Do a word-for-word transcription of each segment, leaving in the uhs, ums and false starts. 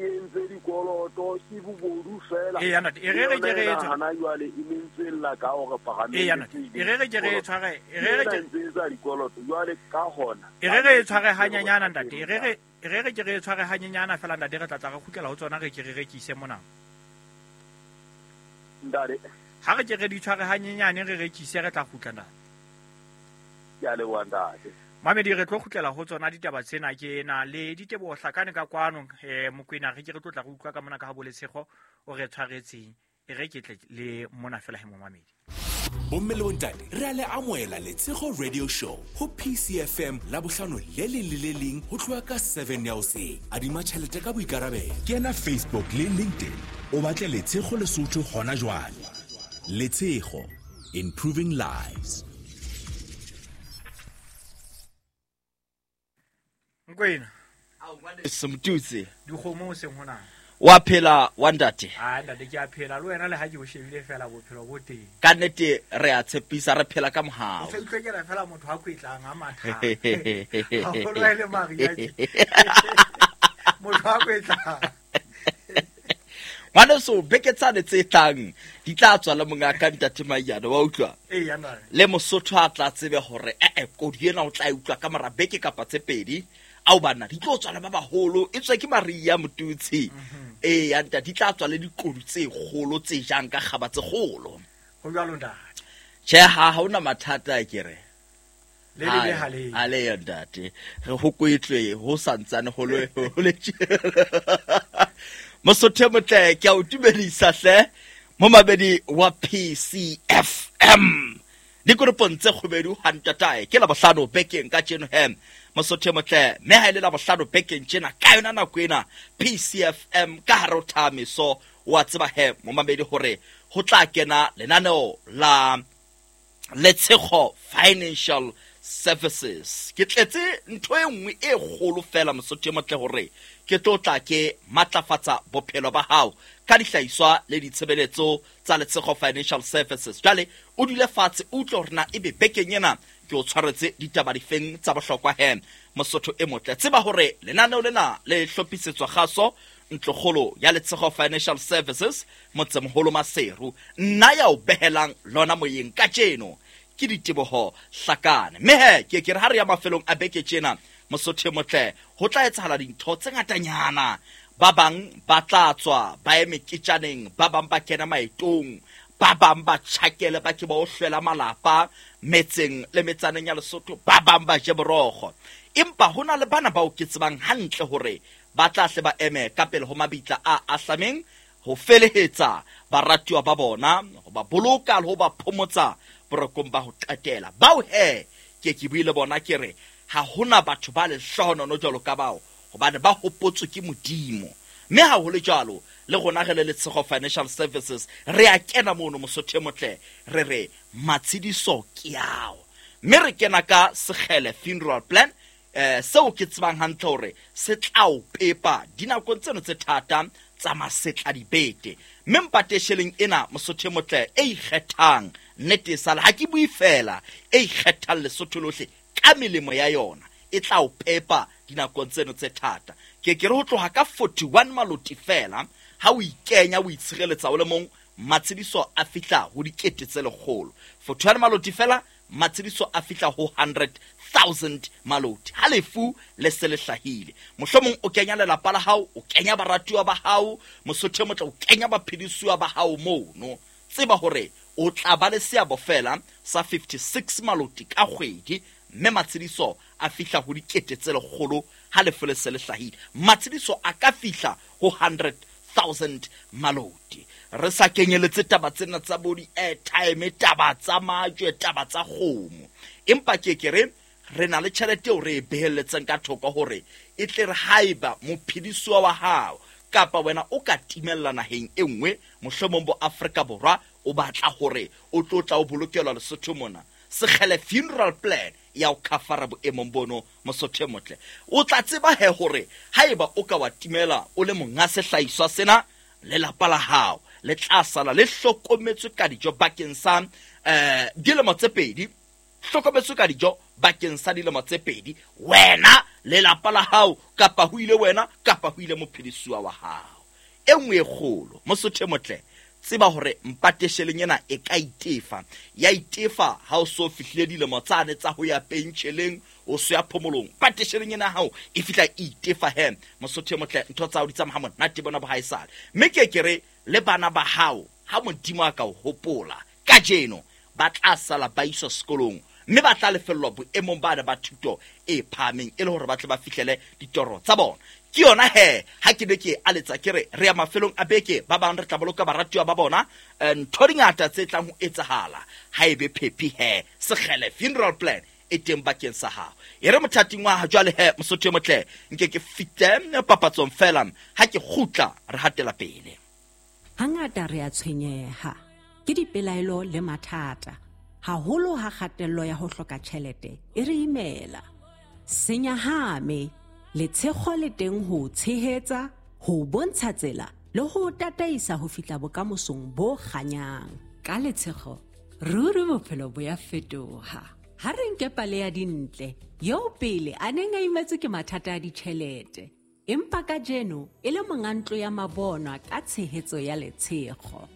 e entse dikoloto ke bobodu fela. E ya ntate, e re re ke re e hana jwale e mentswella ka hore paramente. E ya ntate, e re re ke re e tshware, e re re ke entse dikoloto jwale ka hona. E re re e tshware hanyenyana ntate, e re re e re re ke re e tshware hanyenyana fela ntate, re tla tla re kgutlela ho tsona re ke re rekise mona. Ntate, ha re ke re di tshware hanyenyane re rekise re tla kgutla ntate. Ke a leboha ntate. Mamedi re tlo kgutlela ho tsona ditaba tsena ke na le Diteboho Hlakane ka kwano eh Mokwena re ke re tlo tla re utlwa ka mona ka ha Boletshego o re tshwaretseng e re ke tle le mona fela he momamedi. Bomme le bontate re a le amohela Letshego Radio Show ho P C F M la bohlano le leng le le leng ho tloha ka seven ya hoseng. Adima tjhelete ka boikarabelo. Kena Facebook le LinkedIn o batle Letshego Lesotho hona jwale. Letshego, improving lives. Nkwena Semtutsi dikgomo o seng hona wa phela wa ntate. Ah ntate ke a phela le wena le ha ke o shebile fela bophelo bo teng. Ka nnete re a tshepisa re phela ka mohao. O se utlwekela fela motho a kwetlang a matha. Haholo ha e le Maria tje. Motho a kwetlang. Ngwaneso beke tsane tse tlang di tla tswa le monga ka ntate Maiyane wa utlwa. Ee ya ntate. Le Mosotho a tla tsebe hore eh eh kodi ena o tla e utlwa ka mora beke kapa tse pedi. Ao bana di tlo tswa le ba baholo e tswe ke Maria Motutsi. Ee ya ntate di tla tswa le dikodu tse kgolo tse jang ka kgaba tse kgolo. Ho jwalo ntate. Tjhe ha ha ona mathata ke re. Le le le hale. Ale ya ntate. Re ho kwetlwe ho santsane ho le ho le. Mosotho motle ke a o dumedisa hle momabedi wa P C F M. Dikoropong tse kgubedu ha ntatae ke la bohlano bekeng ka tjeno he Mosotho motle mme ha ile la bohlano bekeng tjena ka yona nako ena P C F M ka hare ho thamiso wa tseba he momamedi hore ho tla kena lenaneo la Letshego Financial Services. Ke tletse ntho e nngwe e kgolo fela Mosotho motle hore ke tlo tla ke matlafatsa bophelo ba hao ka dihlahiswa le ditshebeletso tsa Letshego Financial Services. Jwale o dule fatshe o utlwe hore na ebe bekeng ena ke o tshwaretse ditaba difeng tsa bohlokwa he Mosotho e motle. Tseba hore lenaneo lena le hlophisetswa kgaso ntlokgolo ya Letshego Financial Services motsemoholo Maseru. Nna ya o behelang lona moyeng kajeno ke Diteboho Hlakane. Mme he ke ke re ha re ya mafelong a beke tjena Mosotho motle ho tla etsahala dintho tse ngatanyana. Ba bang ba tla tswa ba ye meketjaneng, ba bang ba kena maetong, ba bang ba tjhakele ba ke ba o hlwela malapa metseng le metsaneng ya Lesotho, ba bang ba je borokgo. Empa hona le bana bao ke tsebang hantle hore ba tla hle ba eme ka pele ho mabitla a ahlameng ho felehetsa baratuwa ba bona, ho ba boloka le ho ba phomotsa borokong ba ho qetela. Bao he ke ke buile bona ke re ha hona batho ba lehlohonono jwalo ka bao hobane ba hopotswe ke Modimo. Mme ha ho le jwalo le rona re le Letshego Financial Services re a kena mono Mosotho motle re re matshediso ke ao. Mme re kena ka Sekgele Funeral Plan eh seo ke tsebang hantle hore se tla o pepa dinakong tseno tse thata tsa masetla dibete. Mme mpatesheleng ena Mosotho motle e ikgethang nnete sala ha ke bue fela e ikgethang Lesotho lohle ka melemo ya yona e tla o pepa dinakong tseno tse thata. Ke ke re ho tloha ka forty-one maloti fela ha o ikenya o itshireletsa o le mong matshediso a fihla ho dikete tse lekgolo. forty-one maloti fela matshediso a fihla ho hundred thousand maloti. Ha lefu le se le hlahile mohlomong o kenya lelapa la hao, o kenya baratuwa ba hao Mosotho motle, o kenya baphedisuwa ba hao mono. Tseba hore o tla ba le seabo fela sa fifty-six maloti ka kgwedi mme matshediso a fihla ho dikete tse lekgolo ha lefu le se le hlahile. Matshediso a ka fihla ho hundred thousand maloti. Re sa kenyeletse taba tsena tsa bo di-airtime, taba tsa majwe, taba tsa kgomo. Empa ke ke re re na le tjhelete eo re e behelletseng ka thoko hore e tle re haeba mophedisuwa wa hao kapa wena o ka timella naheng e nngwe mohlomong bo Afrika Borwa o batla hore o tlo tla o bolokelwa Lesotho mona, Sekgele Funeral Plan ya o khafara boemong bono Mosotho motle. O tla tseba he hore haeba o ka wa timela o le monga sehlahiswa sena lelapa la hao le tla sala le hlokometswe ka dijo bakeng sa eh dilemo tse pedi hlokometswe ka dijo bakeng sa dilemo tse pedi, wena lelapa la hao kapa ho ile wena kapa ho ile mophedisuwa wa hao. E nngwe e kgolo Mosotho motle, tseba hore mpatesheleng ena e ka itefa, ya itefa ha o so fihlile dilemo tsane tsa ho ya pentjheleng, o so ya phomolong. Mpatesheleng ena hao e fihla e itefa he Mosotho motle, ntho tsa hao di tsamaya monate bona bo haesale. Mme ke ke re le bana ba hao ha Modimo a ka o hopola kajeno, ba tla sala ba iswa sekolong mme ba tla lefellwa boemong bana ba thuto e phahameng e le hore ba tle ba fihlele ditoro tsa bona. Ke yona he ha ke ne ke aletsa ke re re ya mafelong a beke, ba bang re tla boloka baratuwa ba bona, ntho di ngata tse tlang ho etsahala ha ebe phephi he Sekgele funeral plan e teng bakeng sa hao. E re mothating wa ha jwale he Mosotho e motle, nke ke fihle papatsong fela, ha ke kgutla re hatela pele. Hangata re a tshwenyeha ke dipelaelo le mathata, haholo ha kgatello ya ho hloka tjhelete e re imela. Senyahame, letshego le teng ho tshehetsa, ho bontsha tsela le ho tataisa ho fihla bokamosong bo kganyang. Ka letshego, ruri bophelo bo ya fetoha. Ha re nke pale ya Dintle, eo pele a neng a imetswe ke mathata a ditjhelete, empa kajeno e le monga ntlo ya mabonwa ka tshehetso ya letshego.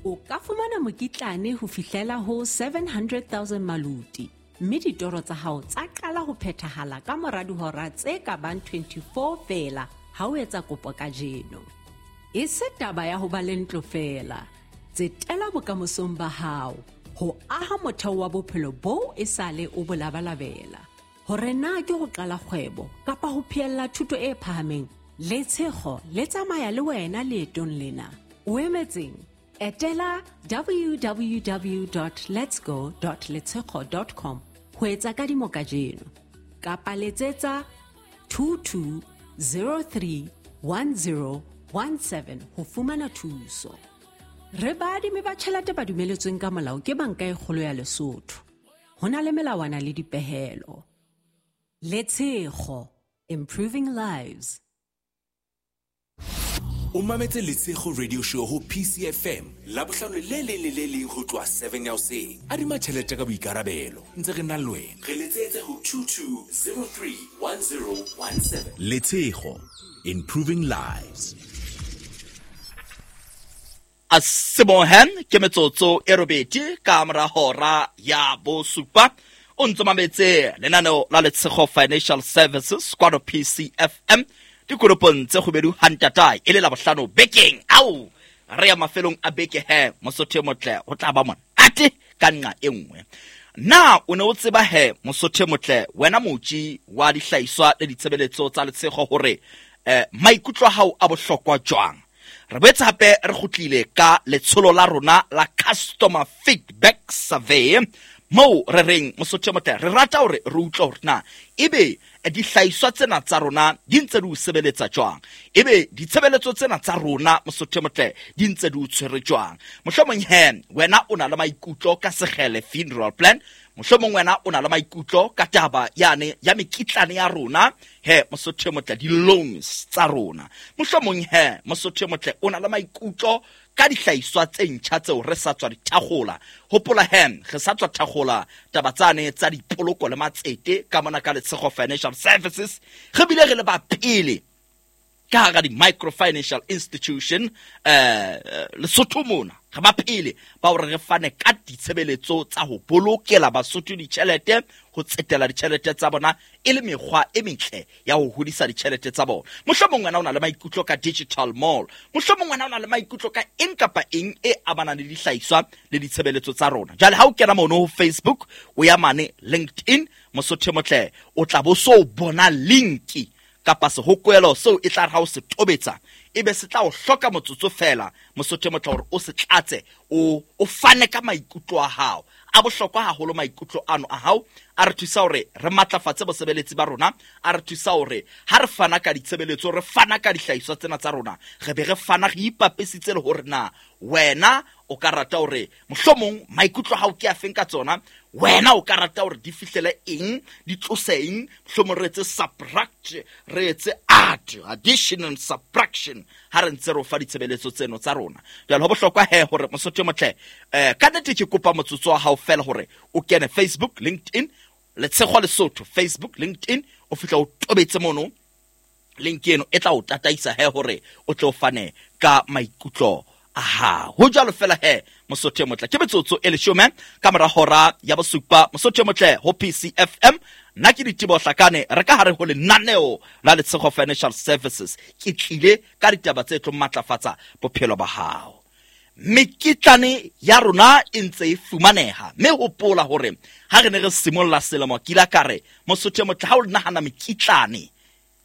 O ka fumana mokitlane ho fihlela ho seven hundred thousand maluti, mme ditoro tsa hao tsa qala ho phethahala ka mora dihora tse ka bang twenty-four feela ha o etsa kopo kajeno. E se taba ya ho ba le ntlo feela, tsetela bokamosong ba hao ho aha motheo wa bophelo boo e sale o bo labalabela. Hore na ke ho qala kgwebo kapa ho phehella thuto e phahameng, letshego le tsamaya le wena leetong lena. O emetseng? Etela w w w dot letsgo dot letshego dot com ho etsa kadimo kajeno, kapa letsetsa two two zero three one zero one seven ho fumana thuso. Re baadimi ba tjhelete ba dumeletsweng ka molao ke Banka e Kgolo ya Lesotho. Ho na le melawana le dipehelo. Letshego, improving lives. O mametse Letshego Radio Show ho P C F M Labohlano le leng le le leng ho tloha seven ya hoseng. Adima tjhelete ka boikarabelo, ntse re na le wena. Re letsetse ho two two zero three one zero one seven. Letshego, improving lives. A sebohen ke metsotso e robedi ka mora hora ya bosupa. O ntso mametse lenaneo la Letshego Financial Services kwano P C F M dikoropong tse kgubedu hantatae e le Labohlano bekeng. Ao re ya mafelong a beke he Mosotho motle, ho tla ba monate ka nqa e nngwe. Na o ne o tseba he Mosotho motle, wena motji wa dihlahiswa le ditshebeletso tsa Letshego hore eh, maikutlo a hao a bohlokwa jwang? Re boetse hape re kgutlile ka letsholo la rona la customer feedback survey, moo re reng Mosotho motle re rata hore re utlwe hore na ebe dihlahiswa tsena tsa rona di ntse di o sebeletsa jwang, ebe ditshebeletso tsena tsa rona Mosotho motle di ntse di o tshwere jwang. Mohlomong he wena o na le maikutlo ka Sekgele funeral plan, mohlomong wena o na le maikutlo ka taba yane ya mekitlane ya rona he Mosotho motle, di-loans tsa rona. Mohlomong he Mosotho motle o na le maikutlo ka dihlahiswa tse ntjha tseo re sa tswa di thakgola. Hopola he re sa tswa thakgola taba tsane tsa dipoloko le matsete ka mona ka Letshego Financial Services. Re bile re le ba pele ka hara di-microfinancial institution eh Lesotho mona, re ba pele ba hore re fane ka ditshebeletso tsa ho bolokela Basotho ditjhelete, ho tsetela ditjhelete tsa bona e le mekgwa e metle ya ho hodisa ditjhelete tsa bona. Mohlomong wena o na le maikutlo ka digital mall, mohlomong wena o na le maikutlo ka eng kapa eng e amanang le dihlahiswa le ditshebeletso tsa rona. Jwale ha o kena mono ho Facebook, o ya mane LinkedIn, Mosotho motle, o tla bo so bona linki kapa sehokwelo seo e tla re ha o se tobetsa ebe se tla o hloka motsotso fela Mosotho motle hore o se tlatse, o o fane ka maikutlo a hao. A bohlokwa haholo maikutlo ano a hao, a re thusa hore re matlafatse bosebeletsi ba rona, a re thusa hore ha re fana ka ditshebeletso, re fana ka dihlahiswa tsena tsa rona, re be re fana re ipapesitse le hore na wena o ka rata hore mohlomong maikutlo a hao ke a feng ka tsona, Wena o ka rata hore di fihlele eng, di tlose eng, mohlomong re etse subtract, re etse add, addition and subtraction ha re ntse re o fa ditshebeletso tseno tsa rona. Jwale ho bohlokwa he hore Mosotho e motle, eh ka nnete ke kopa motsotso wa hao fela hore o kene Facebook, LinkedIn, Letshego Lesotho, Facebook, LinkedIn, o fihla o tobetse mono link eno e tla o tataisa he hore o tlo fane ka maikutlo a hao. Ho jwalo fela he Mosotho e motle, ke metsotso e leshome ka mora hora ya bosupa. Mosotho e motle ho P C F M, nna ke Diteboho Hlakane, re ka hare ho lenaneo la Letshego Financial Services. Ke tlile ka ditaba tse tlo matlafatsa bophelo ba hao. Mekitlane ya rona e ntse e fumaneha, mme hopola hore ha re ne re simolla selemo ke ile ka re Mosotho e motle, ha o nahana mekitlane,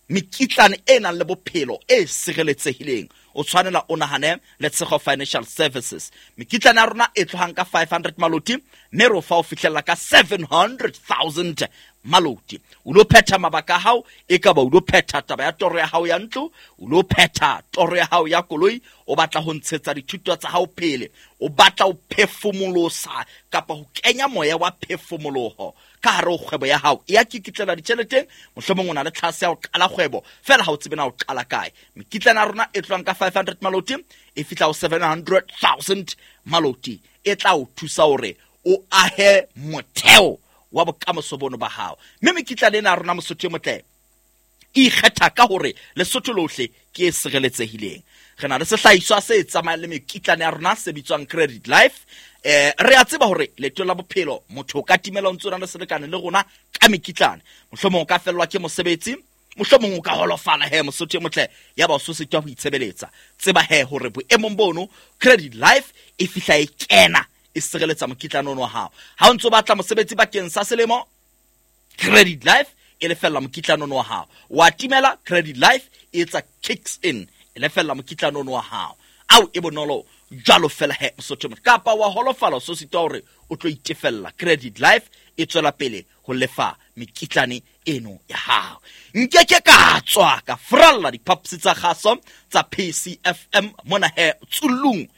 mekitlane e nang le bophelo e sireletsehileng, o tshwanela o nahane Letshego Financial Services. Mekitlane ya rona e tlohang ka five hundred maloti, mme re o fa ho fihlella ka seven hundred thousand maloti. O lo phetha mabaka a hao, e ka ba o lo phetha taba ya toro ya hao ya ntlo, o lo phetha toro ya hao ya koloi, o batla ho ntshetsa dithuto tsa hao pele, o batla ho phefumolosa kapa ho kenya moya wa phefumoloho ka hare ho kgwebo ya hao. E ya kikitlela ditjheleteng, mohlomong o na le tlhase ya ho qala kgwebo, fela ha o tsebe na o qala kae. Mekitlane ya rona e tlohang ka five hundred maloti e fihla ho seven hundred thousand maloti, e tla o thusa hore o ahe motheo wa bokamoso bono ba hao. Mme mekitlane ena ya rona Mosotho e motle e ikgetha ka hore Lesotho lohle ke e sireletsehileng. Re na le sehlahiswa se tsamayang le mekitlane ya rona se bitswang Credit Life. Eh, re a tseba hore leeto la bophelo motho o ka timela o ntse o na le selekane le rona ka mekitlane. Mohlomong o ka fellwa ke mosebetsi, mohlomong o ka holofala he Mosotho e motle, ya ba o so sitwa ho itshebeletsa. Tseba he hore boemong bono Credit Life e fihla e kena e sireletsa mokitlane ono wa hao. Ha o ntso batla mosebetsi bakeng sa selemo, Credit Life e lefella mokitlane ono wa hao. Wa timela, Credit Life e etsa kicks in, e lefella mokitlane ono wa hao. Ao e bonolo jwalo fela he Mosotho motle. Kapa wa holofala o so sitwa hore o tlo itefella, Credit Life e tswela pele ho lefa mekitlane eno ya hao. Nkeke ka tswa ka fralla diphaposi tsa kgaso tsa P C F M mona he Tsulung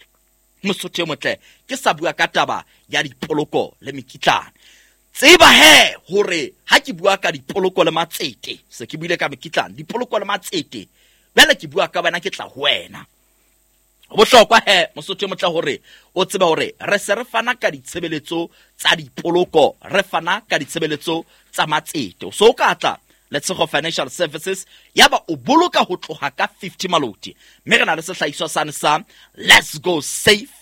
Mosotho motle, ke sa bua ka taba ya dipoloko le mekitlane. Tseba he hore ha ke bua ka dipoloko le matsete, se ke buile ka mekitlane, dipoloko le matsete, jwale ke bua ka wena, ke tla ho wena. Ho bohlokwa he Mosotho motle hore o tsebe hore re se re fana ka ditshebeletso tsa dipoloko, re fana ka ditshebeletso tsa matsete. So o ka tla Letshego Financial Services ya ba o boloka ho tloha ka fifty maloti, mme re na le sehlahiswa sane sa Let's Go Safe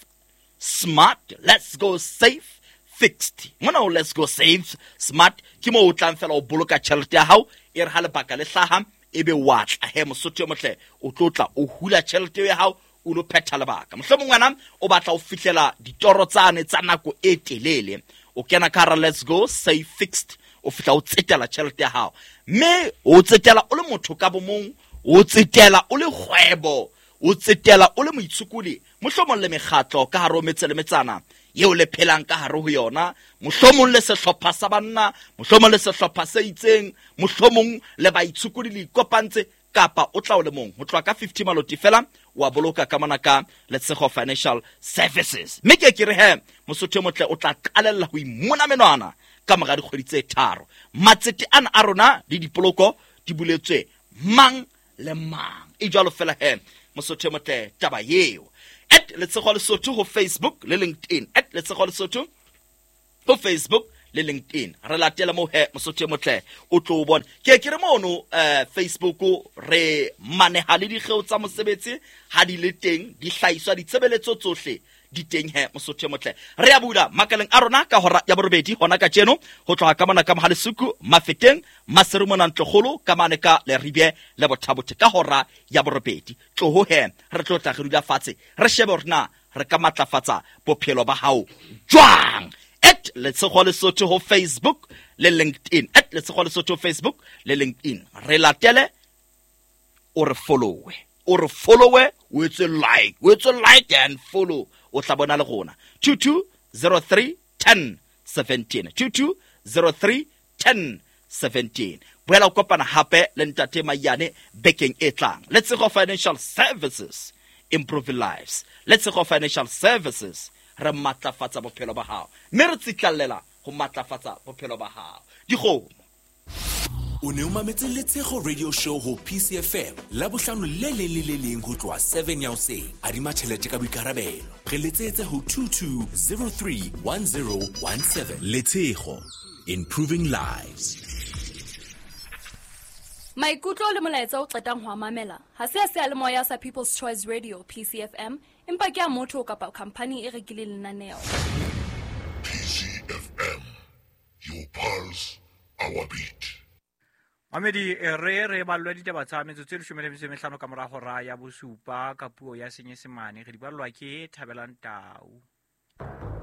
Smart, Let's Go Safe Fixed. Mona o Let's Go Safe Smart ke moo o tlang fela o boloka tjhelete ya hao, e re ha lebaka le hlaha ebe wa tla he Mosotho motle, o tlo tla o hula tjhelete ya hao o lo phetha lebaka. Mohlomong wena o batla ho fihlela ditoro tsane tsa nako e telele, o kena ka hara Let's Go Safe Fixed, o fihla o tsetela tjhelete ya hao, mme o tsetela o le motho ka bomong, o tsetela o le kgwebo, o tsetela o le moitshokodi, mohlomong le mekgatlo ka hare ho metse le metsana eo le phelang ka hare ho yona, mohlomong le sehlopha sa banna, mohlomong le sehlopha se itseng, mohlomong le baitshokodi le ikopantse, kapa o tla o le mong. Ho tloha ka fifty maloti fela wa boloka ka mona ka Letshego Financial Services. Mme ke ke re he Mosotho e motle o tla qalella ho imona menwana ka mora dikgwedi tse tharo. Matsete ana a rona le dipoloko di buletswe mang le mang. E jwalo fela he Mosotho e motle taba eo. At Letshego Lesotho ho Facebook le LinkedIn. At Letshego Lesotho ho Facebook le LinkedIn. Re latela mo he Mosotho e motle o tlo o bona. Ke ke re mono eh Facebook re maneha le dikgeo tsa mosebetsi ha di le teng, di hlahiswa ditshebeletso tsohle di teng he Mosotho e motle. Re a bula makaleng a rona ka hora ya borobedi hona kajeno ho tloha ka mona ka Mohalesuku, Mafeteng, Maseru mona Ntlokgolo ka mane ka Leribe le Bothabothe ka hora ya borobedi. Tloho he re tlo tla re dula fatshe re shebe hore na re ka matlafatsa bophelo ba hao jwang. At Letshego Lesotho ho Facebook le LinkedIn. At Letshego Lesotho ho Facebook le LinkedIn. Re latele o re followe. O re followe, o etse like, o etse like and follow. O tla bona le rona. two two zero three ten seventeen. two two zero three ten seventeen. Boela o kopana hape le Ntate Mayane bekeng e tlang. Letshego Financial Services, improving lives. Letshego Financial Services, re matlafatsa bophelo ba hao. Mme re tsitlallela ho ho matlafatsa bophelo ba hao. Dikgomo. O ne o mametse Letshego Radio Show ho P C F M Labohlano le leng le le leng ho tloha seven ya hoseng. Adima tjhelete ka boikarabelo. Re letsetse ho two two zero three one zero one seven. Letshego, improving lives. Maikutlo le molaetsa o qetang ho a mamela ha se a seyalemoya sa People's Choice Radio P C F M, empa ke a motho kapa khampani e rekileng lenaneo. P C F M, your pulse, our beat. Mamedi, re re ballwa ditaba tsa metsotso e leshome le metso e mehlano ka mora hora ya bosupa ka puo ya Senyesemane. Re di ballwa ke Thabelang Tau.